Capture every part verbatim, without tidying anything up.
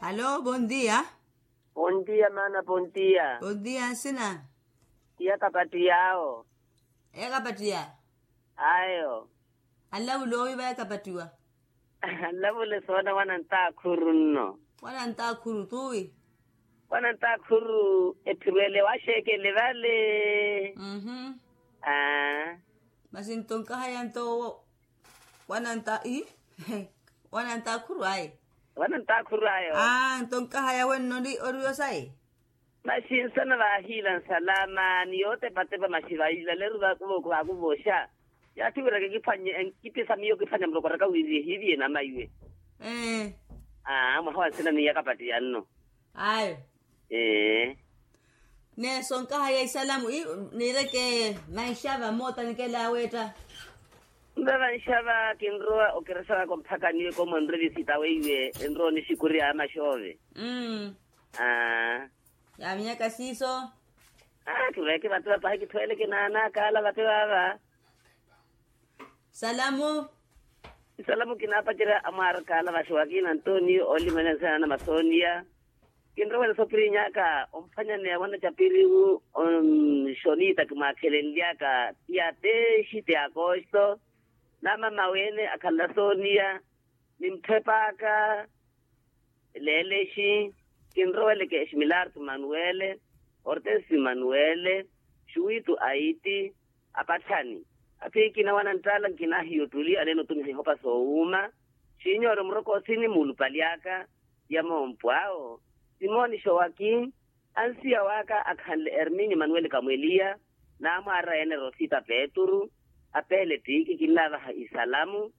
Alo bondia. Bondia maana bondia. Bondia nsina. Iya kapattiya awo. Iya kapattiya. Ayo. Anlavula owi vaya kapattiwa. Anlavule soona wanantakhuru nno. Wanantakhuru tuwi. Wanantakhuru etthurwele waxeekele vale. Masi nto nkahaya nto owo. Wananta ii. Wanantakhuru ayo. Wanantakhuru ayo. Nto nkahaya wenno ori osayi. Maxi nsana vaahiila nsalama ni yootepatepa maxi vailaleru vakuvoku vakuvoxa. Yaatthi wira kikiphwanye kipisa miyo kiphwanya murokoraka wiri ehiiviye namaiwe. Mwaha wa nsina ni ya kapattiya nno. Ayo. Ee. Neso nkahaya isalamu niireke vanxava moota nikela aweetta. Nve vanxava kinrowa okerexa waka omphaka niwe komonre visita weiwe enrowa onixikuriya amaxoove. Aaa. Yaaminyaka siiso. Aa kiveeke vate vapahi kithoyeleke naana kaala vate vaava. Salamu. Isalamu kinaapacerya amwaara kaala vaxi wakiina antonio oolimanyansana na masoniya. Kinrowele sopirinyaka omphwanyaneya wanacapiriwu onxonita kimwaakhelenlyaka. Tiya teexi ti akosto. Namama wene akhanla soniya. Ni mphepaka leelexi. Kinroweleke eximilartu manuwele, ortesi manuwele, xuwitu aiti, apatthani. Athiikina wananttaala nkinaahiya ottuli aneena otumiha ihopa soowuuma. Xiinyoore muroko osini muulupaly'aka ya moompo awo. Simoni xowaki ansiya w'aka akhanle erminyo manuweli kamweliya, naamwaarira yeene rosita peturu. Apeele ttiiki kinnaavaha isalamu.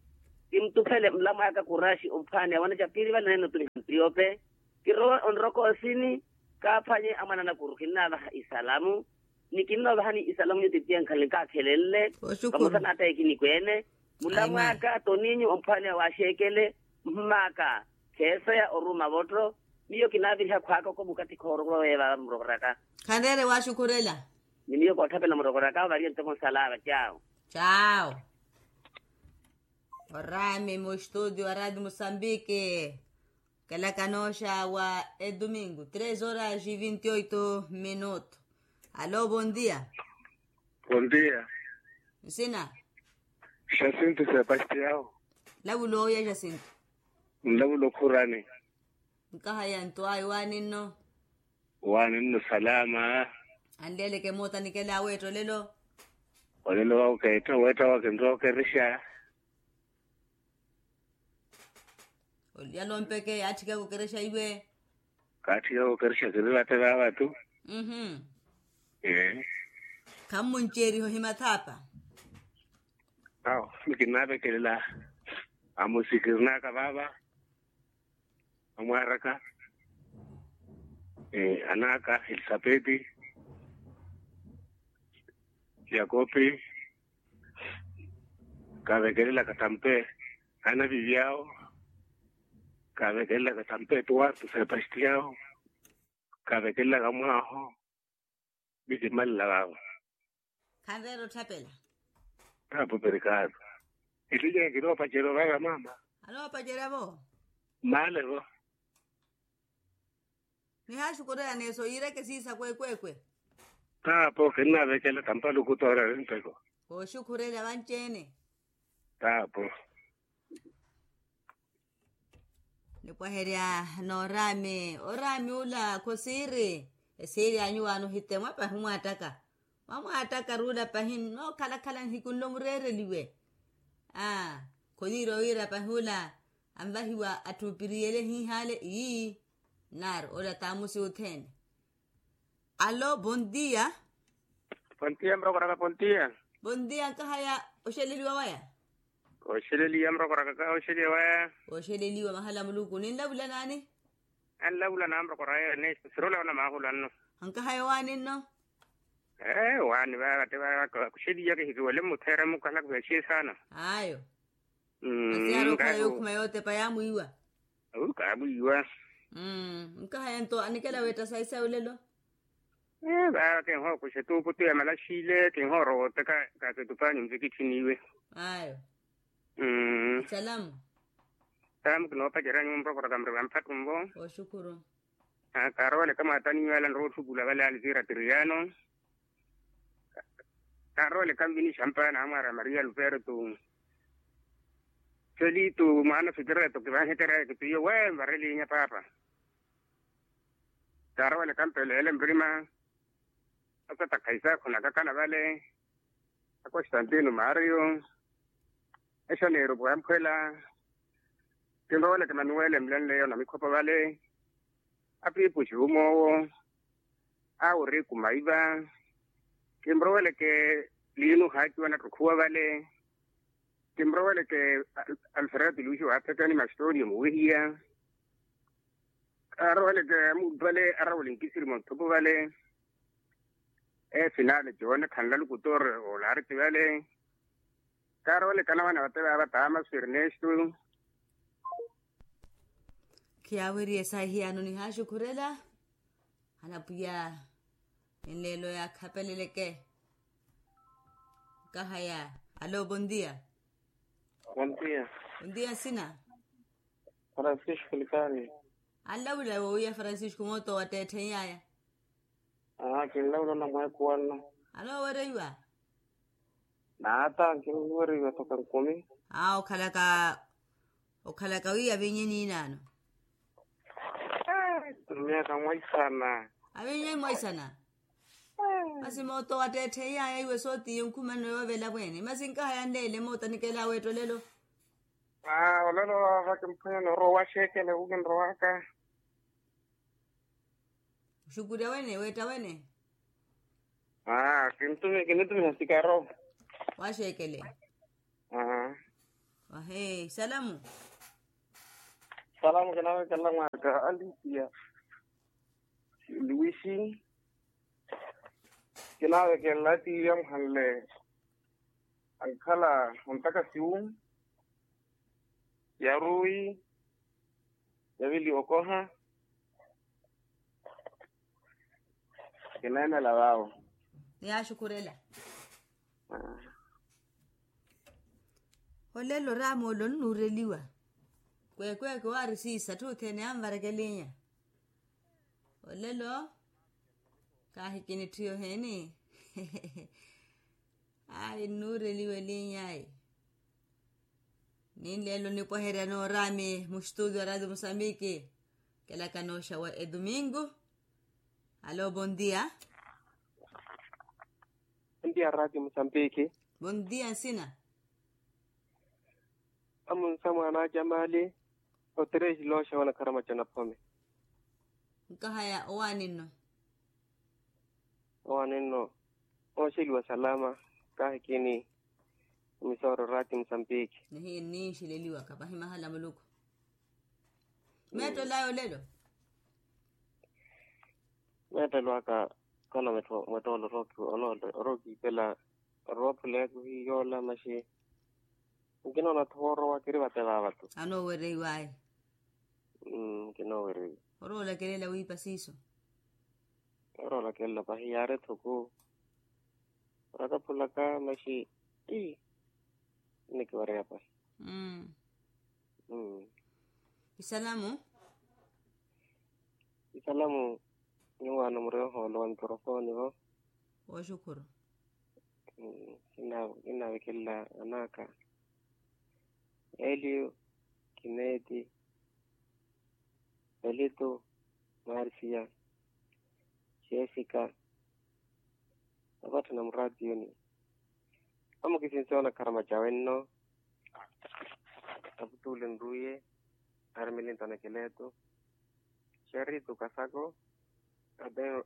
Kimtuphele mlamw'aka kuraxi omphwaaneya wanacapiri vale aneena otumiha ntiyope. Kirowe onroka osini kaaphwanye amwananakuru kinnaavaha isalamu. Ni kinnoovahani isalamu nyuti pia nkhanle nkaakhelenle. Vamosa n'ataye kinikweene. Mulamw'aka toninyu omphwaaneya waaxeekele. Mhum'aka kheeseya oruuma votto. Miyo kinaaviriha khwaaka oko mukatthi khoorokorwa weevaava murokoraka. Khanreere waaxukhurela. Ni miyo kootthapela murokoraka variye ntoko nsala vacawo. Cawo. Orami mu estudio a radio musambiki. Kelaka nooxa wa edomingo tres horas e vinte oito minuto. Alo bondia. Bondia. Nsina. Xasinto sepastiao. Lavula owiya xasinto. Nlavula okhurani. Nkahaya nto ayo waaninno. Waaninno salama. Anleeleke moota nikela aweetta olelo. Olelo wawo keetta weetta wakinrookerexa. Olelo mpeke yaatthikaka okerexa iwe. Kaatthikaka okerexa kiri vate vaavatu. Ee. Khammunceeriha ohimathaapa. Awo nikinaavekelela amusikirinaaka vaava. Amwaaraka anaaka elisapeti, yakopi, kaavekelelaka tampe anavivi awo. Kaavekelelaka tampe tuwartu sepastiao. Kaavekelelaka mwaaho. Misimalela vaavo. Khanveera otthapela. Taapo perikaaro. Ettilyaka kinoopacerya ovara mama. Anoopacerya vo. Maale vo. Nihaaxukureya neso yiireke siisa kwekwekwe. Taapo kinnavekela tampaluku toorari mpeko. Kooxukhurela vanci-ene. Taapo. Nipwaherya nooraami oraami ula khosiiri. Esiiri anyuwaani ohite mwapahi mwaattaka. Mwamwaattaka ruula pahi nnookhalakhala nihiku nlo mureereliwe. Aa khoniira owiira pahi ula anvahiwa atthu opiriyele hiihaale ii. Nari ola taamusi othene. Alo bondia. Bondia murokoraka bondia. Bondia nkahaya oxeleliwa waya. Oxeleliwa murokoraka ka oxeliwa waya. Oxeleliwa mahala muluku ninlavula naani? Anlavula naamurokora yeene sirula ona maahula nno. Ankahaya owaani nno. Ee waani vava tte vava kuxeliya kihikiwele muttheere mukalaku veexiye saana. Ayo. Masi yaari okhala yookhuma yootepa yaamwiiwa. Awi kaamwiiwa. Nkahaya nto anikela weetta sayi sayi olelo. Ee vava kinhookuxa etuuputu ya malaxile kinhoorowa otteka. Kaakitupaani mvikitthini iwe. Ayo. Salamu. Taamu kinoopacerya nyumpwa khuroka muriva mphattumvo. Kaarowa oleka mwaatani nyuwela nrowa otthupula vale alivira tiriano. Kaaroweleka nvini xampa naamwaara maria luferto. Felito mwaana fekereto kivanhekeryaya kitiyo we nvarelinya paapa. Kaaroweleka mpeleele murima. Asatakha isaakhu nakakana vale. Akostantino mario. Exaneiro puwamphwela. Kinroweleke manuwele mlenleyo na mikhopo vale. Apiipuxi umoowo. Awo riku maiva. Kinroweleke liinu haakiwa nattukhuwa vale. Kinroweleke alfredo luxi waaphekani mastorio muwehiya. Aroweleke amuudu vale arawele nkisiri mwa muthupu vale. Efinale jone khanlaluku tore olariti vale. Kaarowelekana wana vate vaava taamasu ernesto. Khiyaaweriye saahiyaano nihaaxukhurela. Hana pwiya enleelo yaakhapeleleke. Nkahaya. Alo bondia. Bondia. Bondia nsina. Francisco likani. Anlawula woowiya francisco mooto watteettheiyaaya. Aa kinlawula namweekuwanno. Anoowereiwa. Naata nkinwereiwa toka nkumi. Aa okhalaka okhalaka wiiya aviinye niinaano. Miaka mwaisana. Aviinye mwaisana. Masi mooto watteettheiyaaya iwe sootiye nkhumanno yoovela mweene masi nkahaya nleele mooto anikela aweetta olelo. Aa olelo vaava kimphwanyani orowa waxeekele wukinrowaka. Oxukurya wene weetta wene. Aa kinitumiha sikaro. Waxeekele. Aa. Ahee isalamu. Isalamu kinaweekela mwaaka alipiya. Luwisi. Kinaweekela tiivi amuhanle. Ankhala ontakasiwu. Yaruwi. Yavili okoha. Kineenela vaawo. Niyaaxukhurela. Olelo oraama ole onnuureliwa. Kweekweeke owaari siisa atthu othene anvarekelinya. Olelo. Kaahi kinitthi yoheni. Ayi nnuureliwa elinya ayi. Ninleelo nipweherya nooraami muxtuudio a radio musambiki. Kelaka nooxawa edumingu. Alo bondia. Bondia radio musambiki. Bondia nsina. Amunsa mwaana ajamali. Oterexi looxawa nakharamaca naphome. Nkahaya owaani nno. Owaani nno. Ooxeliwa salama. Kaahikini. Emisooro rati musambiki. Nihiye nninxeleliwaka pahi mahala a muluku. Meettolaya olelo. Meettolwaka. Kana mwettoolo orookiipela. Oroophuleyaka ohiyoola maxi. Nkinoona-tho woorowa kiri vate vaava-tho. Anoowereiwaya. Nkinooweriwa. Oroolakelela wiipa siiso. Oroolakelela pahi yaari ethuku. Orakaphulaka maxi. Ii. Nnikiwareya pahi. Isalamu. Isalamu. Nyuwaano muri ohoolo wa mikrofooni vo. Wooxukhuru. Kinnavekelela anaaka. Eliyo, kineti, felito, marisiya, jessica. Avatthana muraatiyoni. Amukisinsiwa onakharamaca wenno. Aputuule nruye. Armili ntanekeleto. Xeritu kasako.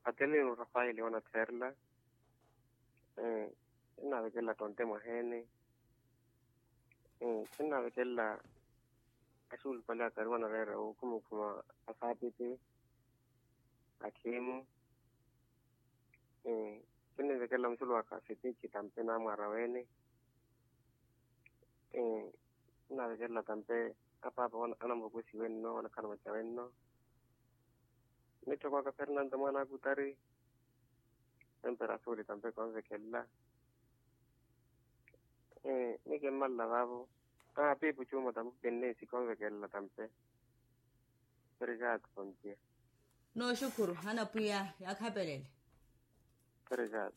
Atenino rafaeli onatherela. Kinnavekelela tonte mwaheene. Kinnavekelela axulupale akari wanareera wukhuma okhuma asaapiti. Akhimu. Kinnivekelela muxulu waka fitiki tampe namwara wene. Kinnavekelela tampe apaapa anamvokosiwe nno anakhala maca wenno. Mitthoko aka fernando mwana akutari. Temperature tampe konvekelela. Ni kimmalela vaavo. Ah, piipu chuuma tampu pinni sikonvekelela tampe. Obrigado, bom dia. Nooxukhuru hana pwiya yaakhapelele. Obrigado.